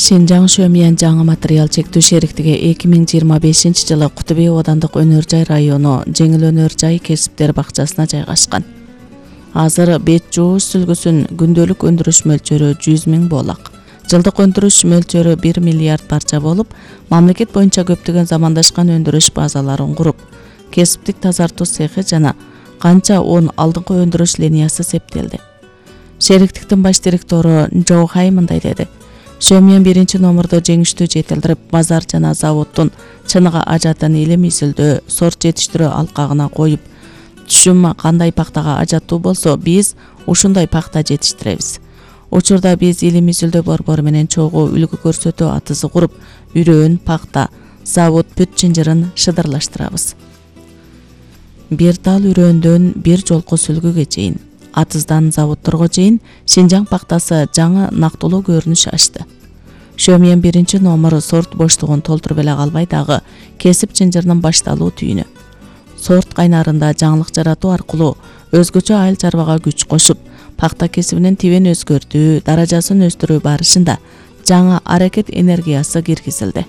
Шинжаң Шөмиян жаңы материал чектүү шериктиги 2025-жылы Куту Бей оодандык өнөр жай району жеңил өнөр жай кесиптер бакчасына жайгашкан. Азыр бет жууш сүлгүсүн күндөлүк өндүрүш мөлчөрү 100 000 боолак. Жылдык өндүрүш мөлчөрү 1 миллиард парча болуп, мамлекет боюнча көптөгөн замандашкан өндүрүш базаларын куруп, кесиптик тазартуу цехи жана канча 10 алдыңкы өндүрүш линиясы септелди. Шериктиктин баш директору Джо Хай мындай деди: Шөмиян 1-номурду жеңиштүү жетилдирип, базар жана заводдун чыныгы ажатын илим изилдөө, сорт жетиштирүү алкагына коюп, түшүм кандай пактага ажаттуу болсо, биз ушундай пакта жетиштиребиз. Учурда биз илим изилдөө борбору менен чогуу үлгү көрсөтүү атызы куруп, үрөөн, пакта, завод бүт чынжырын шыдырлаштырабыз. Бир тал үрөөндөн бир жолку сүлгүгө чейин, атыздан заводторго чейин Шинжаң пактасы жаңы нактылуу көрүнүш ачты. Шөмиян 1-номур сорт боштугун толтуруп эле калбай дагы кесип чынжырынын башталуу түйүнү. Сорт кайнарында жаңылык жаратуу аркылуу өзгөчө айыл чарбага күч кошуп, пакта кесибинин тибин өзгөртүү, даражасын өстүрүү барышында жаңы аракет энергиясы киргизилди.